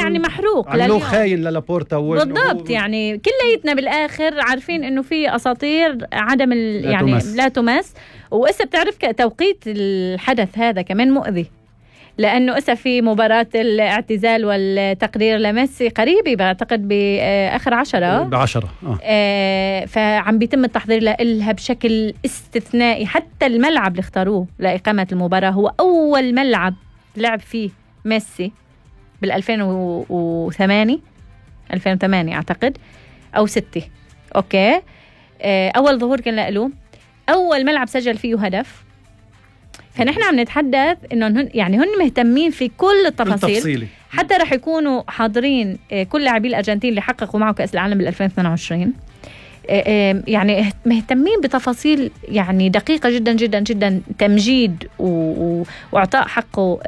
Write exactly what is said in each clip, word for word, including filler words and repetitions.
يعني محروق عملوه خاين للابورتا بالضبط. يعني كليتنا بالاخر عارفين انه في اساطير عدم ال... يعني تمس. لا تمس. وإسا بتعرف توقيت الحدث هذا كمان مؤذي، لأنه إسا في مباراة الاعتزال والتقرير لميسي قريبة بعتقد بآخر عشرة بعشرة آه. آه فعم بيتم التحضير لها بشكل استثنائي. حتى الملعب اللي اختاروه لإقامة المباراة هو أول ملعب لعب فيه ميسي بالألفين وثمانية ألفين وثمانية أعتقد أو ستة. أوكي آه أول ظهور كان له، أول ملعب سجل فيه هدف. فنحن عم نتحدث إنه هن يعني هن مهتمين في كل التفاصيل التفصيلي. حتى رح يكونوا حاضرين كل لاعبي الأرجنتين اللي حققوا معه كأس العالم بال ألفين واثنين وعشرين. يعني مهتمين بتفاصيل يعني دقيقة جدا جدا جدا، تمجيد وإعطاء حقه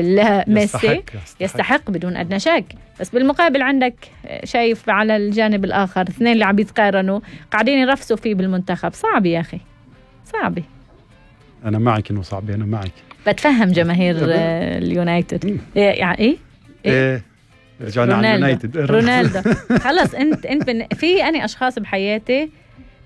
لميسي. يستحق, يستحق. يستحق بدون أدنى شك. بس بالمقابل عندك شايف على الجانب الآخر اثنين اللي عم يتقارنوا قاعدين يرفسوا فيه بالمنتخب. صعب يا أخي صعب. أنا معك إنه صعب، أنا معك. بتفهم جماهير اليونايتد يعني إيه؟ إيه رجعنا على اليونايتد. رونالدو خلص. أنت أنت في أنا أشخاص بحياتي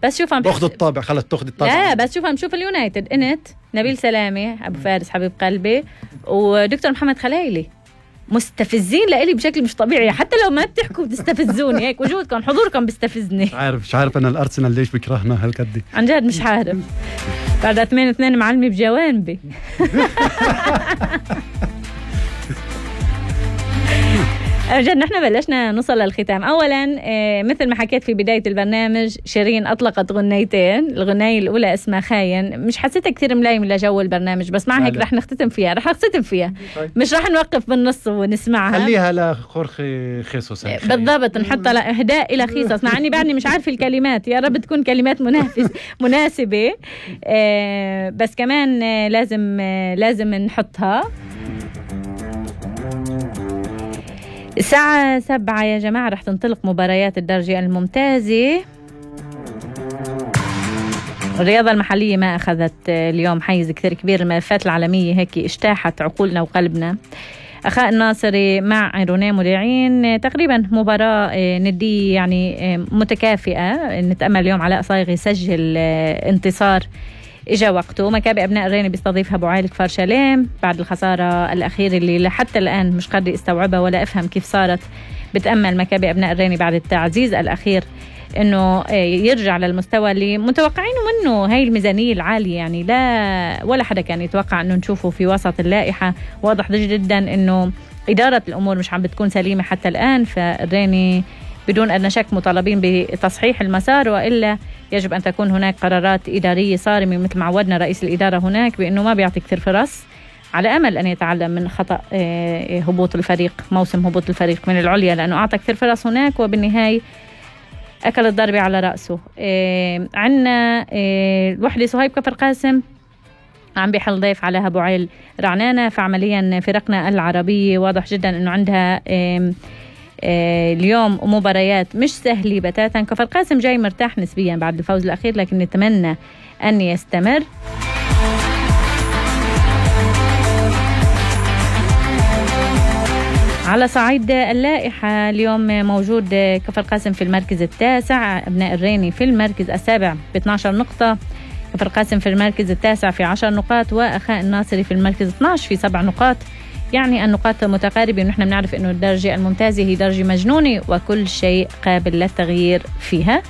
بس شوف عم باخذ الطابع خلص تاخذ الطابع. لا بس شوف عم شوف اليونايتد أنت نبيل سلامة أبو فارس حبيب قلبي ودكتور محمد خلايلي مستفزين لإلي بشكل مش طبيعي. حتى لو ما بتحكوا بتستفزوني هيك، وجودكم حضوركم بيستفزني. مش عارف مش عارف أنا الأرسنال ليش بكرهنا هالقد عن جد مش عارف. بعد اثنين اثنين معلمي بجوانبي. جد نحن بلشنا نوصل للختام. أولا مثل ما حكيت في بداية البرنامج شيرين أطلقت غنيتين. الغناية الأولى اسمها خاين، مش حسيتها كتير ملايم لجو البرنامج بس مع هيك رح نختتم فيها رح نختتم فيها مش رح نوقف بالنص ونسمعها. خليها لخورخي خيسوس بالضبط، نحطها إهداء إلى خيسوس مع أني بعدني مش عارف الكلمات. يا رب تكون كلمات منافس مناسبة. بس كمان لازم لازم نحطها. الساعة سبعة يا جماعة رح تنطلق مباريات الدرجة الممتازة. الرياضة المحلية ما أخذت اليوم حيز كثير كبير. الملفات العالمية هيك اجتاحت عقولنا وقلبنا. أخاء الناصري مع روني مودعين تقريبا مباراة ندية يعني متكافئة. نتأمل اليوم علاء صايغ يسجل انتصار إجا وقته. مكابي أبناء الريني بيستضيفها أبو عايل كفار شاليم بعد الخسارة الأخيرة اللي لحتى الآن مش قادر استوعبها ولا أفهم كيف صارت. بتأمل مكابي أبناء الريني بعد التعزيز الأخير إنه يرجع للمستوى اللي متوقعينه منه. هاي الميزانية العالية يعني لا ولا حدا كان يتوقع إنه نشوفه في وسط اللائحة. واضح جدا إنه إدارة الأمور مش عم بتكون سليمة حتى الآن. فالريني بدون أدنى شك مطالبين بتصحيح المسار، وإلا يجب أن تكون هناك قرارات إدارية صارمة مثل ما عودنا رئيس الإدارة هناك بأنه ما بيعطي كثير فرص على أمل أن يتعلم من خطأ هبوط الفريق موسم هبوط الفريق من العليا، لأنه أعطى كثير فرص هناك وبالنهاية أكل الضربة على رأسه. عنا الوحدة صهيب كفر قاسم عم بيحل ضيف على أبو عايل رعنانة. فعمليا فرقنا العربية واضح جدا أنه عندها اليوم مباريات مش سهلة بتاتا. كفر قاسم جاي مرتاح نسبيا بعد الفوز الأخير لكن نتمنى أن يستمر. على صعيد اللائحة اليوم موجود كفر قاسم في المركز التاسع، أبناء الريني في المركز السابع ب اثنعش نقطة، كفر قاسم في المركز التاسع في عشر نقاط، وأخاء الناصري في المركز اثنعش في سبع نقاط. يعني النقاط متقاربة، ونحن بنعرف إنه الدرجة الممتازة هي درجة مجنونة وكل شيء قابل للتغيير فيها.